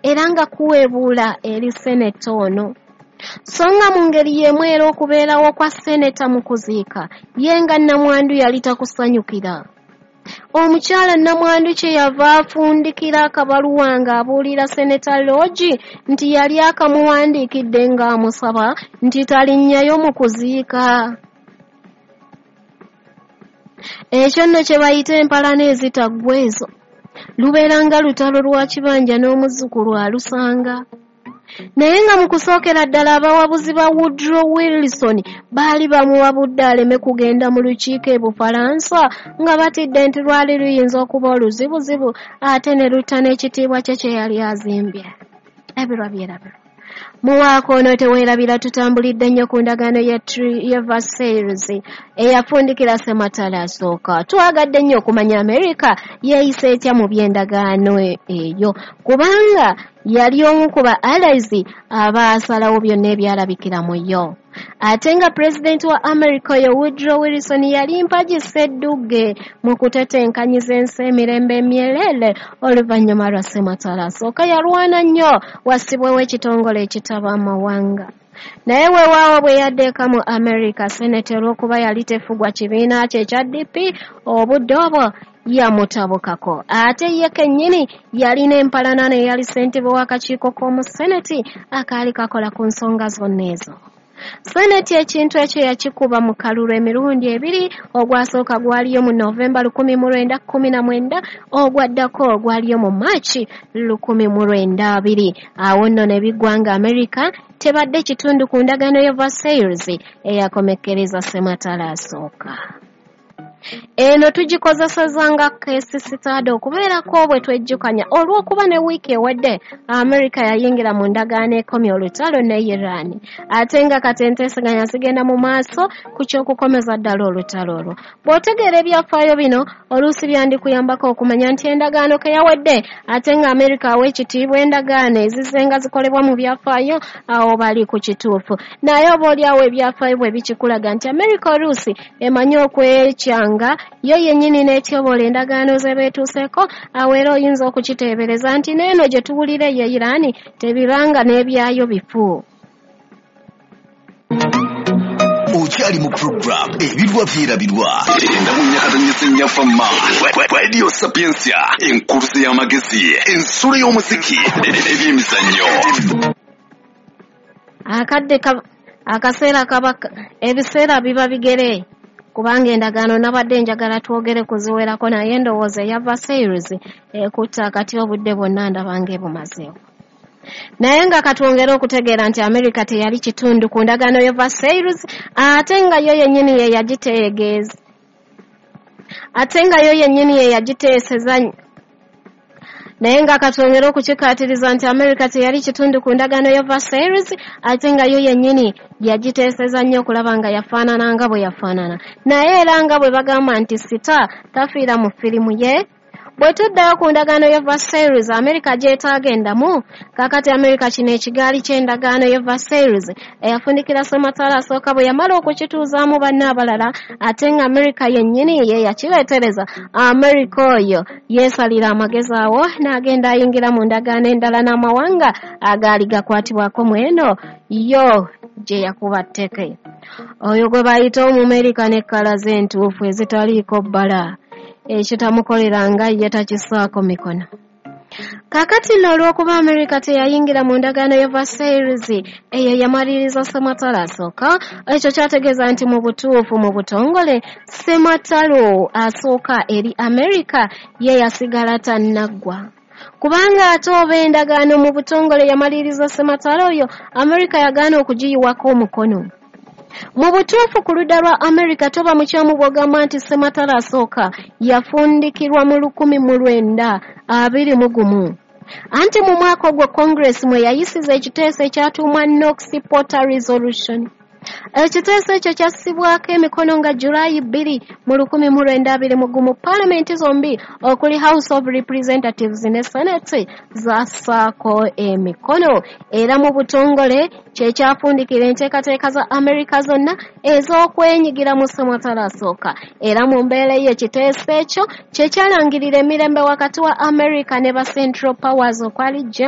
Era nga kuweebuula eri seneta ono. So nga mu ngeri y'emu era okubeerawo kwa seneta mu kuziika ye nga nnamwandu yali takusanyukira. Omukyala nnamwandu kye yava afundikira akabaluwa ng'abuulira seneta Lodge nti yali akamuwandiikidde ng'amusaba nti talinnyayo mu kuziika. Ekyo nno kye bayita empalana ezitaggwa ezo. Lubeera nga lutalo lwa kibanja n'omuzzukulu alusanga. Naye nga mu kusookera ddala abawabuzi ba Woodrow Wilson baali bamuwabudde aleme kugenda mu lukiiko e Bufalansa nga batidde nti lwali luyinza okuba oluzibuzibu ate ne lutta n'ekitiibwa kye kye yali azimbye. Ebirwa byerabirwa. Muwaako ono teweerabira tutambulidde nnyo ku ndagaano ya Versailles eyafundikira Ssematalo asooka. Twagadde nnyo okumanya Amerika yeeyisa etya mu by'endagaano eyo kubanga yali omu ku ba allies abaasalawo byonna ebyalabikira mu yo. Ate nga pulezidenti wa America oyo Woodrow Wilson yali mpagi sseddugge mu kutetenkanyiza ensi emirembe emyerere oluvannyuma lwa Ssematalo asooka yalwana nnyo wassibwewo ekitongole ekitaba amawanga. Naye weewaawo bwe yadda eka mu America, Senate olw'okuba yali tefugwa kibiina kye ekya DP obudde obwo yamutabukako. Ate ye kennyini yalina empalana n'eyali ssentebe w'akakiiko k'omu Senate akaali kakola ku nsonga zonna ezo. Senate ekintu ekyo yakikuba mu kalulu emirundi ebiri, ogwasooka gwaliyo mu Novemba 1919, ogwaddako gwaliyo mu Maaci 1920. Awo nno ne biggwa nga Amerika tebadde kitundu ku ndagaano ya Versailles eyakomekkereza Ssematalo asooka. Eno tugikozesezza nga case study okubeerako bwe twejjukanya olw'okuba ne wiiki ewedde Amerika yayingira mu ndagaano ekomya olutalo ne Iran, ate nga kati enteeseganya zigenda mu maaso ku ky'okukomeza ddala olutalo olwo. Bw'otegeera ebyafaayo bino oluusi byandikuyambako okumanya nti endagaano ke yawedde ate nga Amerika awa ekitiibwa endagaano ezizenga zikolebwa mu byafaayo, awo bali ku kituufu. Naye oba oliawo ebyafaayo bwe bikikulaga nti Amerika oluusi emanyi okwekyanga yo yennyini n'etyobola endagaano ze beetuuseeko, awo era oyinza okukiteebereza nti n'eno gye tuwulira ye Iran tebibanga n'ebyayo bifu. Okyali mu program Ebirwa Byerabirwa endamunyakatanyisa ennyafamma Radio Sapientia, enkuluze y'amagezi, ensulo y'omuziki n'ebyemizannyo. Akadde akaseera kaba ebiseera biba bigere kubanga endagaano nabadde njagala twogere kuziwerako, naye ndowooza eya Versailles ekutta akati obudde bwonna ndaba ng'ebumazeewo. Naye nga katwongere okutegeera nti Amerika teyali kitundu ku ndagaano ya Versailles, ate nga yo yennyini ye yagitegeeza, ate nga yo yennyini ye yagiteeseza. Naye nga katwongere okukikaatiriza nti Amerika teyali kitundu ku ndagaano ya Versailles, ate nga yo yennyini yagiteeseza nnyo okulaba nga yafaanana nga bwe yafaanana. Naye era nga bwe bagamba nti sita tafiira mu firimu ye, bwe tuddayo ku ndagaano ya Versailles Amerika gy'etaagendamu, kaakati Amerika kino ekigaali ky'endagaano ya Versailles eyafundikira Ssematalo asooka bwe yamala okukituuzaamu banne abalala, ate nga Amerika yennyini ye yakireetereza. Amerika oyo yeesalira amagezi awo n'agenda ayingira mu ndagaano endala n'amawanga agaali gakwatibwako mu eno yo gye yakuba tteke. Oyo gwe bayita Omumerika n'ekkala ze entuufu ezitaliiko bbala, ekitamukolera nga ye takisaako mikono. Kaakati nno olw'okuba Amerika teyayingira mu ndagaano ya Versailles eyo yamaliriza Ssematalo asooka, ekyo kyategeeza nti mu butuufu mu butongole Ssematalo asooka eri Amerika ye yasigala tannaggwa. Kubanga ate oba endagaano mu butongole yamaliriza Ssematalo oyo, Amerika yagaana okugiyiwako omukono. Mu butuufu ku ludda lwa Amerika toba mukyamu bw'ogamba nti Ssematalo asooka yafundikirwa mu 1921. Anti mu mwaka ogwo Congress mwe yayisiza ekiteeso ekyatuumwa Knox Porter Resolution. Ekiteeso ekyo kyassibwako emikono nga Julayi 2 mu 1921, paalamenti zombi okuli House of Representatives ne Senate zassaako emikono, era mu butongole kye kyafundikira enteekateeka za Amerika zonna ez'okwenyigira mu ssematalo asooka. Era mu mbeera eyo ekiteeso ekyo kye kyalangirira emirembe wakati wa Amerika ne ba Central Powers okwali Germany